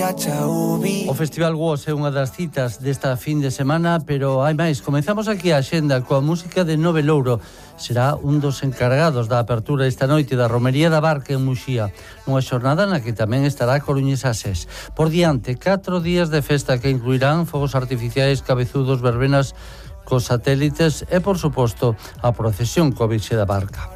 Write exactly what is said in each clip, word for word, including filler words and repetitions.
O Festival Woz é unha das citas desta fin de semana, pero hai máis. Comezamos aquí a axenda coa música de Nove Louro. Será un dos encargados da apertura esta noite da Romería da Barca en Muxía, nunha xornada na que tamén estará Coruñesa Sés. Por diante, catro días de festa que incluirán fogos artificiais, cabezudos, verbenas cos satélites e, por suposto, a procesión coa Virxe da Barca.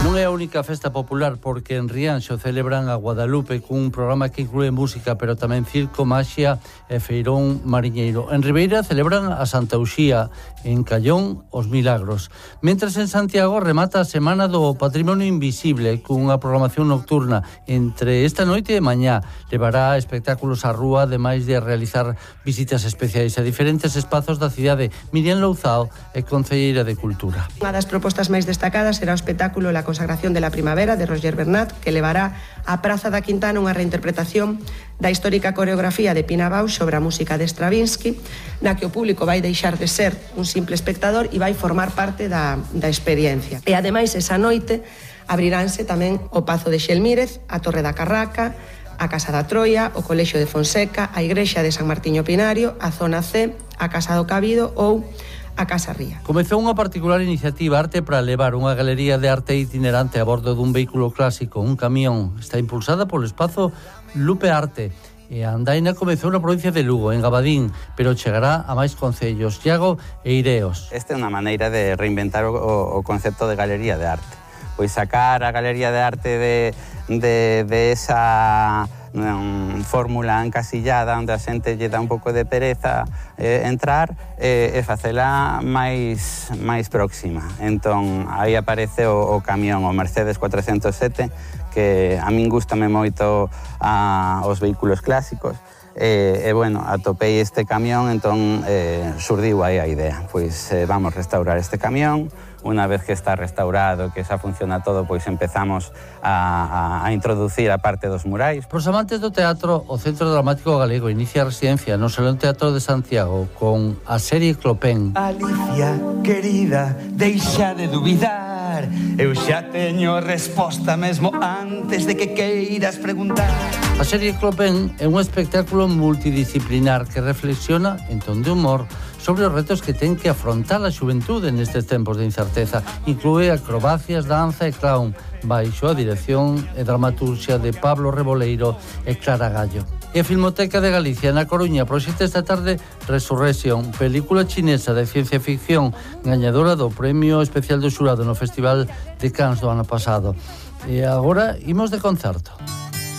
Non é a única festa popular, porque en Rianxo celebran a Guadalupe cun programa que inclúe música, pero tamén circo, maxia e feirón mariñeiro. En Ribeira celebran a Santa Uxía, en Callón os Milagros. Mentres en Santiago remata a Semana do Patrimonio Invisible cunha programación nocturna. Entre esta noite e mañá levará espectáculos á rúa, ademais de realizar visitas especiais a diferentes espazos da cidade. Miriam Louzao é concelleira de Cultura. Unha das propostas máis destacadas será o espectáculo La consagración de la primavera de Roger Bernat, que levará á Praza da Quintana unha reinterpretación da histórica coreografía de Pina Bausch sobre a música de Stravinsky, na que o público vai deixar de ser un simple espectador e vai formar parte da, da experiencia. E ademais, esa noite abriránse tamén o Pazo de Xelmírez, a Torre da Carraca, a Casa da Troia, o Colexio de Fonseca, a Igrexa de San Martiño Pinario, a Zona C, a Casa do Cabido ou a Casa Ría. Comezou unha particular iniciativa Arte para levar unha galería de arte itinerante a bordo dun vehículo clásico, un camión. Está impulsada polo espazo Lupe Arte. E a andaina comezou na provincia de Lugo, en Gabadín, pero chegará a máis concellos, Iago e Ireos. Esta é unha maneira de reinventar o, o concepto de galería de arte. Pois sacar a galería de arte de, de, de esa um, fórmula encasillada onde a xente lle dá un pouco de pereza eh, entrar eh, e facela máis, máis próxima. Entón, aí aparece o, o camión, o Mercedes cuatrocentos sete, que a min gustame moito a, os vehículos clásicos. E, e bueno, atopei este camión, entón eh, surdiu aí a idea. Pois eh, vamos restaurar este camión. Unha vez que está restaurado, que xa funciona todo, pois empezamos a, a, a introducir a parte dos murais. Pros amantes do teatro, o Centro Dramático Galego inicia a residencia no Salón Teatro de Santiago con a serie Clopén. Alicia, querida, deixa de dubidar. Eu xa teño resposta mesmo antes de que queiras preguntar. A serie Clopén é un espectáculo multidisciplinar que reflexiona en ton de humor sobre os retos que ten que afrontar a xuventude nestes tempos de incerteza. Inclúe acrobacias, danza e clown, baixo a dirección e dramaturxia de Pablo Reboleiro e Clara Gallo. E a Filmoteca de Galicia, na Coruña, proxecta esta tarde Resurrection, película chinesa de ciencia ficción, gañadora do Premio Especial do Xurado no Festival de Cannes do ano pasado. E agora imos de concerto.